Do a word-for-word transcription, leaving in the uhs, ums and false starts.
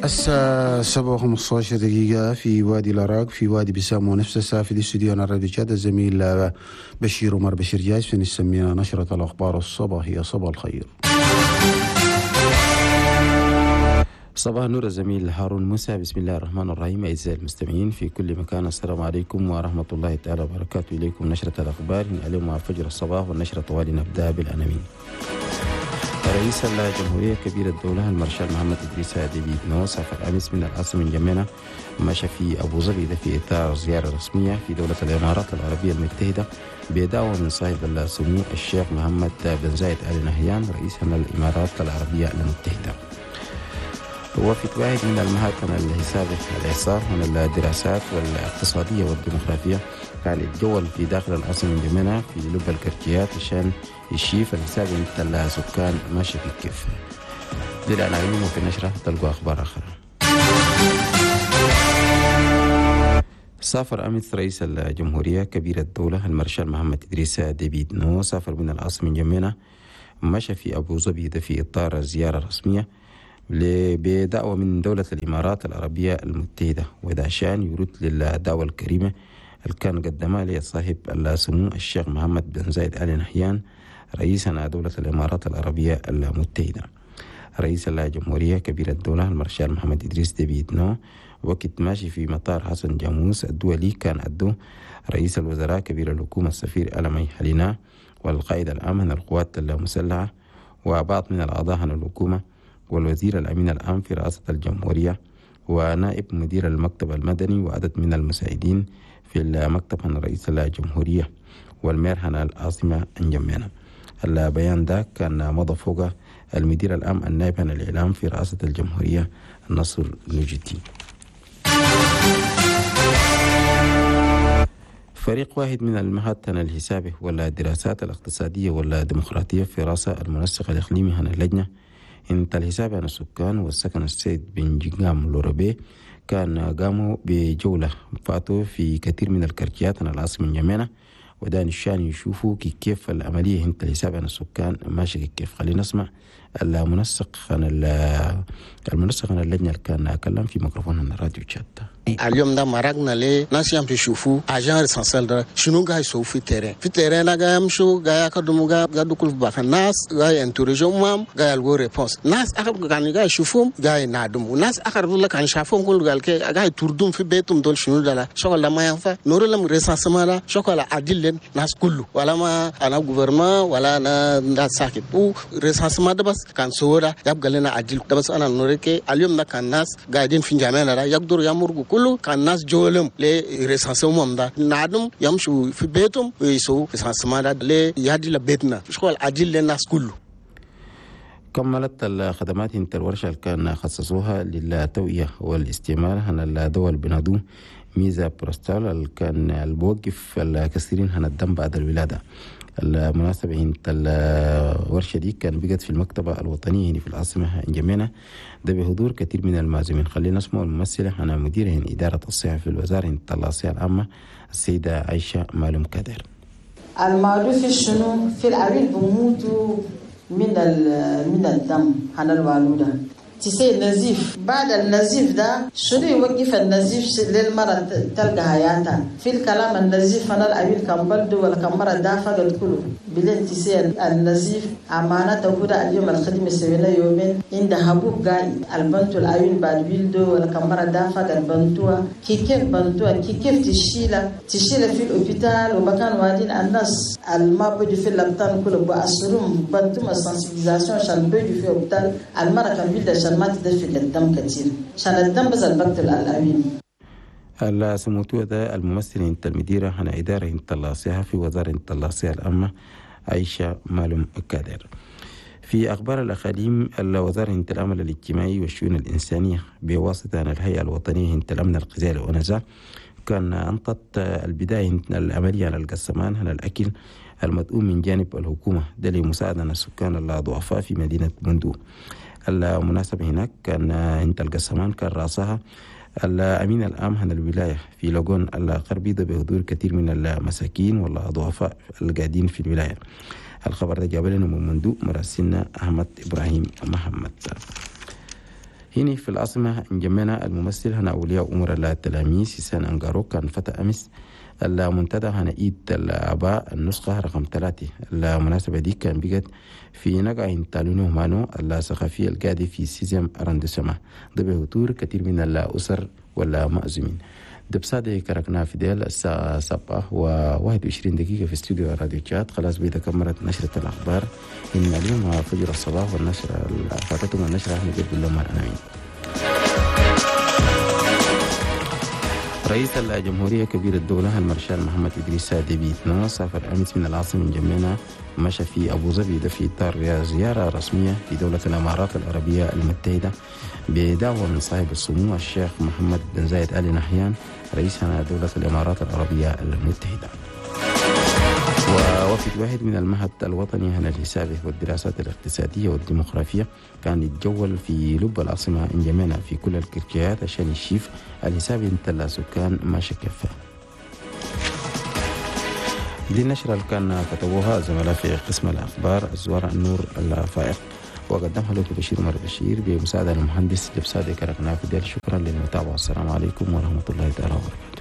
الساعة سبعة وخمسة عشر دقيقة في وادي الأراك، في وادي بسام، ونفس الساعة في الاستوديو الراديو تشاد. الزميل بشير عمر بشير جاهز في نسميها نشرة الأخبار الصباحية. صباح الخير. صباح النور الزميل هارون موسى. بسم الله الرحمن الرحيم. أعزائي المستمعين في كل مكان، السلام عليكم ورحمة الله تعالى وبركاته. إليكم نشرة الأخبار اليوم مع فجر الصباح، والنشرة طوالي نبدأ بالعناوين. رئيس الجمهورية كبير الدولة المارشال محمد إدريس ديبي إتنو سافر أمس من العاصمة انجمينا مشى في أبو ظبي، ده في إطار زيارة رسمية في دولة الإمارات العربية المتحدة بدعوة من صاحب السمو الشيخ محمد بن زايد آل نهيان رئيس الإمارات العربية المتحدة. وفد واحد من المعهد الحسابي الإحصاء من الدراسات والاقتصادية والديموغرافية كان يتجول في داخل العاصمة انجمينا في لب الكرتيات عشان يشيف الحساب انت السكان ماشي في كيف. دي العناوين، وفي النشرة تلقوا أخبار أخرى. سافر أمس رئيس الجمهورية كبير الدولة المارشال محمد إدريس ديبي إتنو سافر من العاصمة انجمينا مشى في أبو ظبي، ده في إطار زيارة رسمية بدعوة من دولة الإمارات العربية المتحدة، وده عشان يرد للدعوة الكريمة اللي كان قدمها لصاحب السمو الشيخ محمد بن زايد آل نهيان رئيس دولة الإمارات العربية المتحدة. رئيس الجمهورية كبير الدولة المارشال محمد إدريس ديبي إتنو وقت ماشي في مطار حسن جاموس الدولي كان أدو رئيس الوزراء كبير الحكومة السفير ألمي حلينا والقائد العام من القوات المسلحة وبعض من الأعضاء عن الحكومة والوزير الأمين العام في رئاسة الجمهورية ونائب مدير المكتب المدني وعدد من المساعدين في المكتب عن رئيس الجمهورية والمير عن العاصمة انجمينا. البيان ده كان مضى فوق المدير العام النائب عن الإعلام في رئاسة الجمهورية النصر نجتي. فريق واحد من المعهد الحسابي والدراسات الاقتصادية والديمقراطية في رأس المنسق الإقليمي عن اللجنة انت الحساب عن السكان والسكن السيد بن جيجام لوربي كان قاموا بجولة فاتوا في كثير من الكرتيات عن العاصمة انجمينا، وده نشان يشوفوا كيف العملية انت الحساب عن السكان ماشي كيف. خلينا نسمع المنسق عن المنسق عن اللجنة اللي كان أكلم في ميكروفون الراديو تشات. اليوم ده مرقنا ليه ناس يمشي يشوفوا agents recenseurs ده شنو قاعد يسووا في terrain، في terrain ده قاعد يمشوا قاعد يقدموا قاعد يدخلوا في بعض الناس قاعد interroger هم قاعد يلقوا réponse. ناس اخر كانوا قاعد يشوفوهم قاعد ينادموا، ناس اخر يقول لك انا شافهم كل قال كي قاعد يطردون في بيتهم دول شنو ده شغل ما ينفع نور لهم recensement ده شغل عدل ناس كله ولا ما انا gouvernement ولا انا ناس ساكت و recensement ده بس كان صوره يبقى لنا عدل ده بس. انا نوريك اليوم ده كان ناس قاعدين في جامعنا ده يقدروا يمرقوا كله كان ناس جولهم ل recensement ده نادم يمشوا في بيتهم ويسووا recensement ده ليهدي لبيتنا شغل عدل للناس كله. كملت الخدمات انت الورشة اللي كان خصصوها للتوعية والاستعمال هنا الدول بنادو ميزا بروستال اللي كان البوقف الكثيرين هنا الدم بعد الولادة. المناسبة انت الورشة دي كان بقت في المكتبة الوطنية هنا في العاصمة انجمينا ده بحضور كثير من المعزومين. خلينا نسمع الممثلة هنا مديرة هنا إدارة الصحة في الوزارة انت الصحة العامة السيدة عائشة مالوم كادر. المعروف شنو في العويل بموتوا من من الدم هنا الوالودة تسي نزيف، بعد النزيف ده شنو يوقف النزيف للمرة تلقى حياتها في الكلام النزيف أنا الأبيل كان بلدو ولا كان مرة دافع الكل بلين تسي النزيف أمانة تقول اليوم الخدمة سوينا يومين عند حبوب قاي البنتو الأبيل بعد بلدو ولا كان مرة دافع البنتوا كي كيف بنتوا كي كيف تشيله تشيله في الأوبيتال ومكان وادين الناس الما بدو في اللبطان كله بأسرهم بنتو ما sensibilisation عشان بدو في الأوبيتال المرة كان بلد ما تدفق الدم كثير عشان الدم بس البكتل الأوين. السموتو ده الممثل انت المديرة هنا إدارة انت الصحة في وزارة انت الصحة العامة عائشة مالوم كادر. في أخبار الأقاليم الوزارة انت العمل الاجتماعي والشؤون الإنسانية بواسطة الهيئة الوطنية انت الأمن الغذائي الأونزا كان أنطت البداية العملية على القسمان على الأكل المدعوم من جانب الحكومة ده لمساعدة السكان الضعفاء في مدينة بندو. المناسبة هناك كان انت القسمان كان رأسها الأمين العام هنا الولاية في لوغون الغربي ده بحضور كثير من المساكين والضعفاء القاعدين في الولاية. الخبر ده جاب لنا من مندو مراسلنا أحمد إبراهيم محمد. هنا في العاصمة انجمينا الممثل هنا أولياء أمور التلاميذ سيسان أنغارو كان فتح أمس المنتدى هنا إيد الآباء النسخة رقم ثلاثة. المناسبة دي كان بقت في نقع تالونو مانو الثقافية القادة في sixième arrondissement بحضور كثير من الأسر والمأزومين. دبسادي كركنا في ديل الساعة سبعة وواحد وعشرين دقيقة في استوديو راديو تشاد. خلاص بيدا كمرت نشرة الأخبار إن اليوم فجر الصباح والنشرة فاتتهم النشرة أحمد عبد الله الأنامين. رئيس الجمهورية كبير الدولة المارشال محمد إدريس ديبي إتنو سافر أمس من العاصمة انجمينا مشى في أبو ظبي ده في إطار زيارة رسمية في دولة الإمارات العربية المتحدة بدعوة من صاحب السمو الشيخ محمد بن زايد آل نهيان رئيس دولة الإمارات العربية المتحدة. ووفد واحد من المعهد الوطني هنا الحسابي والدراسات الاقتصادية والديموغرافية كان يتجول في لب العاصمة انجمينا في كل الكركيات عشان يشيف الحساب انتلا سكان ما شكفه. دي النشرة اللي كان كتبوها زملاء في قسم الأخبار الزوار النور الفائق وقدمها لكم بشير عمر بشير بمساعدة المهندس جبسادي كركنا في ديل. شكرا للمتابعة، السلام عليكم ورحمة الله تعالى وبركاته.